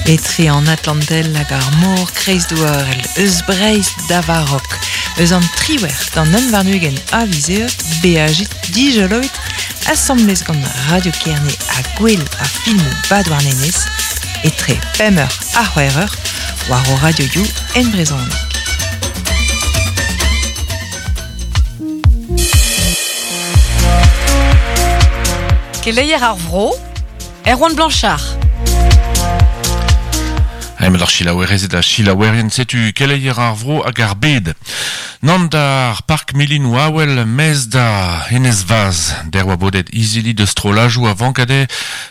Etre an Atlantel hag ar mor kreizdouarel, eus Breizh da Varok, eus an triwec'h d'an un warn-ugent a viz Eost, beajit dijoloit asambles gant Radio Kerne ha Gouel ar filmoù Bad-Warnenez, etre pemp eur ha c'hwec'h eur, war ho radioioù en brezhoneg. Keleier ar vro, Erwan Blanchard. Hemet ar selaouerezed ha selaouerien, setu keleier ar vro hag ar bed. Nann d'ar park milinoù awel, mez da Enez Vaz. Der oa bodet izili deus strollajoù a vank dezhe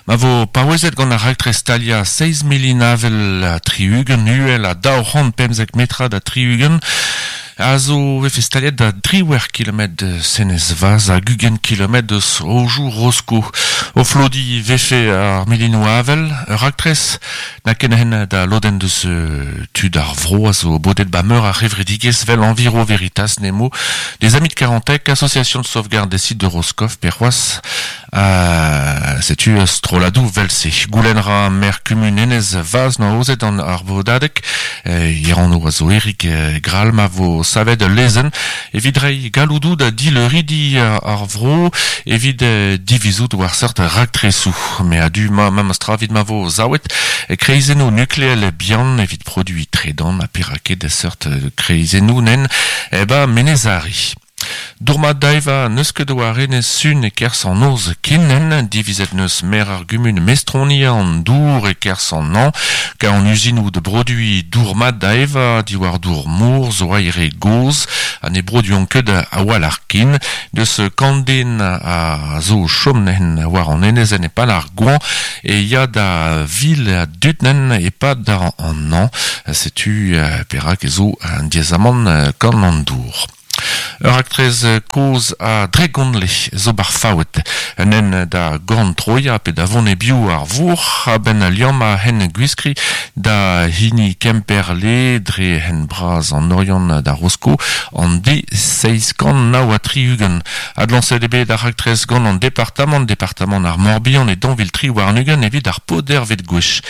ma vo paouezet gant ar raktres staliañ seizh milin avel ha tri-ugent uhel ha 215 metrad ha tri-ugent a zo vefe staliet da driwec'h kilometr deus Enez Vaz hag 20 kilometr deus Aojoù Rosko. O flodiñ vefe ar milinoù avel, ur raktres n'a ken hen da lodenn deus tud ar vro a zo bodet ba meur ar c'hevredigezh 'vel Enviro Veritas Nemo, des Amis de Carantec, Association de sauvegarde des sites de Roscoff pe c'hoazh setu strolladoù 'vel-se. Goulenn 'ra maer kumun Enez Vaz 'noa aozet an ar vodadeg. E anv a zo Eric Grall ma vo savet ul lezenn evit reiñ galloudoù da dileuridi ar vro evit divizout war seurt raktresoù. Me a-du ma memes tra evit ma vo savet kreizennoù nukleel bihan evit produiñ tredan ha perak ket seurt kreizennoù nen ba Menez Are. Dourmat da evañ n'eus ket war enez Sun e-kerzh an noz ken divizet 'neus maer ar gumun mestroniañ an dour e-kerzh an hañv ka an uzinoù da broduiñ dour mat da evañ diwar dour mor zo aere gozh ha ne broduont ket a-walc'h ken. Deus kant den a zo o chom neuze war an enezenn e-pad ar goañv e ya da vil a dud neuze e-pad an hañv. Setu perak e zo un diaezamant gant an dour. Ur raktres kozh a Dregonle zo 'bar Faoued. Un hent da gorn-troiañ pe da vont e-biou ar vourc'h a-benn liammañ hent Gwiskri da hini Kemperle dre hent bras an Oriant da Rosko an D769. Adlañset eo bet ar raktres gant an departamant, departamant ar Morbihan e 2023 evit ar podervet gwech.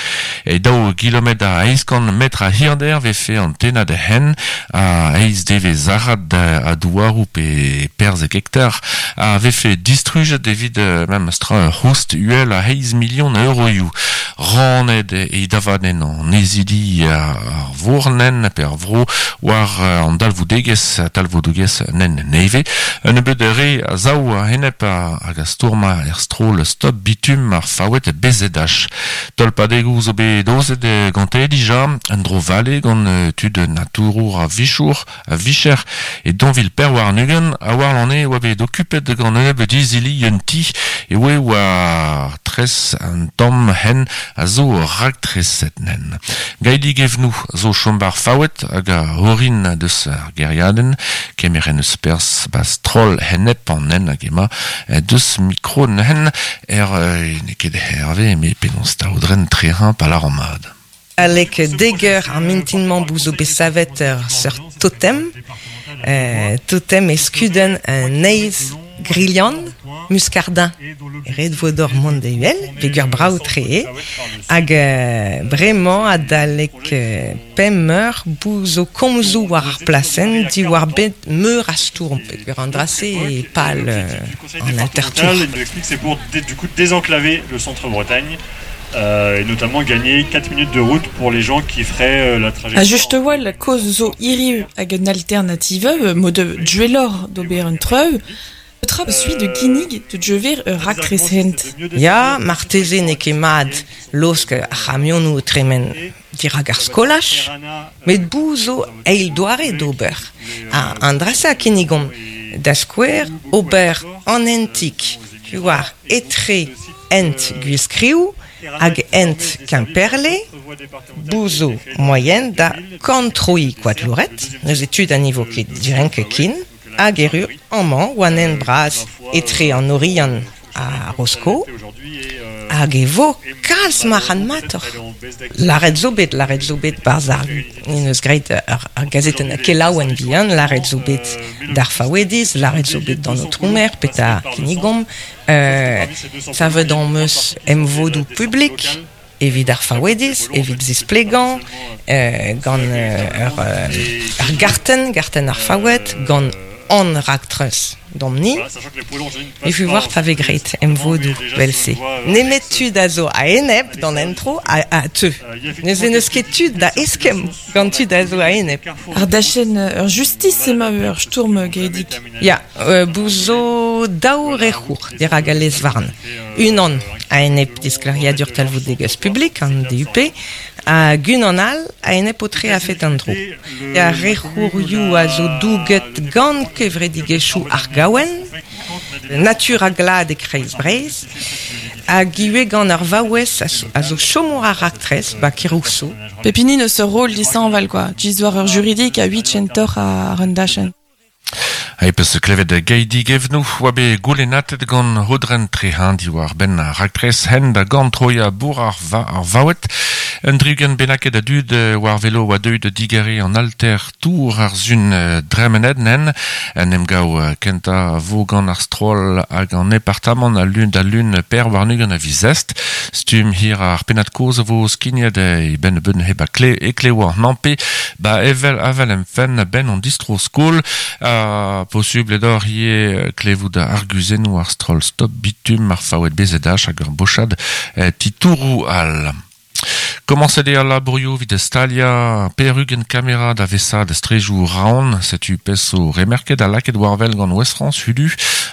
E daou gilometr ha eizh kant metr a hirder 'vefe an tennad hent A eizh devezh arat a douaroù pe perzek hektar a vefe distrujet evit memes tra ur c'houst uhel a eizh milion a euroioù. Rannet eo davadenn an ezidi ar vournenn pe ar vro war an dalvoudegezh talvoudegezh nen nevez. Un nebeud re a sav a-enep hag a stourma er stroll Stop Bitume ar Faoued BZH. Tolpadegoù zo bet aozet gante dija, un dro-vale gant tud naturour a-vichour, a-vicher e 2024, ha warlane e oa bet okupet gant un nebeud izili un ti e oe war tres an tamm hent a zo raktreset nen. Gaedig Evnoù zo chom 'bar Faoued hag a orin deus ar gêriadenn, kemer en eus perzh 'ba stroll enep an hent hag ema deus mikro neuzen Er n'eo ket Herve, eme penaos taodren trehañ pa lâran mat. Alek dek eur ar mintin-mañ bout zo bet savet ur seurt totem. Totem e skudenn un neizh grilhan, muskardin. Ret vo deoc'h mont da uhel, peger brav-tre eo. Hag bremañ adalek pemp eur bout zo komzoù war ar plasenn diwar-benn meur a stourm peogwir an dra-se eo pal an altertour. Il nous explique c'est pour du coup désenclaver le centre-Bretagne euh, et notamment gagner 4 minutes de route pour les gens qui feraient euh, la trajectoire. Ha just a-walh kaoz zo hiriv hag un alternative mod duelloc'h d'ober un treu, Petra suit de ginnig de djever ur raktres hent? Ya, marteze n'eo ket mat laosk ar c'hamionoù o tremen dirak ar skolaj, met bout zo eil doare d'ober. Ha an dra-se a kinnigomp, da skouer, ober an hentig war etre hent Gwiskriv hag hent Kemperle, bout zo moaien da korntroiñ Koadlouret, neuze tud ha ne vo ket direnket ken. Hag erru amañ war an hent bras etre an Oriant ha Rosko hag e vo kalz marc'hadmatoc'h. Lâret zo bet, lâret zo bet 'barzh ar en deus graet ar gazetenn kelaouenn vihan, lâret zo bet d'ar Faouediz, lâret zo bet d'an Aotrou Maer petra kinnigomp. Savet am eus emvodoù publik. Evit ar Faouediz, evit zisplegañ, gant ur ur gartenn, gartenn ar Faoued, gant hon raktres domp-ni. E vu war pa vez graet emvodoù 'vel-se. Nemet tud a zo a-enep d'an entro a teu. Neuze n'eus ket tu da eskemm gant tud a zo a-enep. Ar dachenn ur justis emañ ur stourm Gaedig. Ya, bout zo daou rec'hour dirak al lez-varn. Unan a-enep disklêriadur talvoudegezh publik, an DUP, hag unan all a-enep aotre a-fet an dro. Ar rec'hourioù a zo douget gant kevredigezhioù ar gaouenn, Natur ha Glad e Kreiz Breizh, hag ivez gant ar vaouez a zo chomour ar raktres, ba Kerousseau. Pep hini 'neus ur roll dishañval kwa, just war ur juridik a huit kentoc'h àr un dachenn. Ha peus klevet Gaedig Evnou oa bet goulennatet gant Aodren Trehin diwar-benn ar raktres hent da gorn-troiañ bourc'h ar, ar Vaoued. Un dri-ugent bennaket a dud war velo oa deuet da digeriñ an alter tour ar sun dremenet nen. En emgav kentañ a vo gant ar stroll hag an departamant al lun da lun per warn-ugent a viz Est. Stumm hir ar pennad-kozh a vo skignet e benn nebeut hep e klev an Nampe ba evel avel em fenn a-benn an distro-skol. Ha posubl eo deoc'h ivez klevout arguzennoù ar stroll Stop Bitum, ar Faoued BZH hag ur bochad titouroù all. Komañset eo al labourioù evit staliañ pevar-ugent kamera da vesaat strejoù Raon. Setu pezh zo remerket ha lakaet war-wel gant Ouest-France hudu.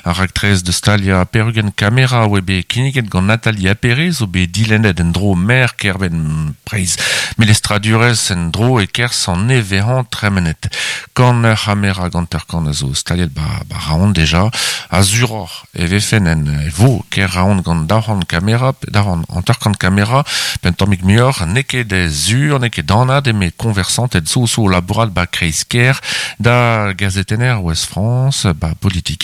Ar raktres da staliañ pevar-ugent kamera a oa bet kinniget gant Nathalie Appéré zo bet dilennet en-dro maer kêr-benn Breizh. Melestradurezh en-dro e-kerzh an nevez-hañv tremenet. Kant ur c'hamera gant-ur-kant a zo staliet ba, ba Raon deja. Ha suroc'h e vefen en e vo kêr Raon gant 200 kamera, 250 kamera, pe un tammig muioc'h, n'eo ket sur, n'eo ket anat eme koñversanted zo zo labourat ba kreiz-kêr da gazetenner Ouest France ba politikerezh.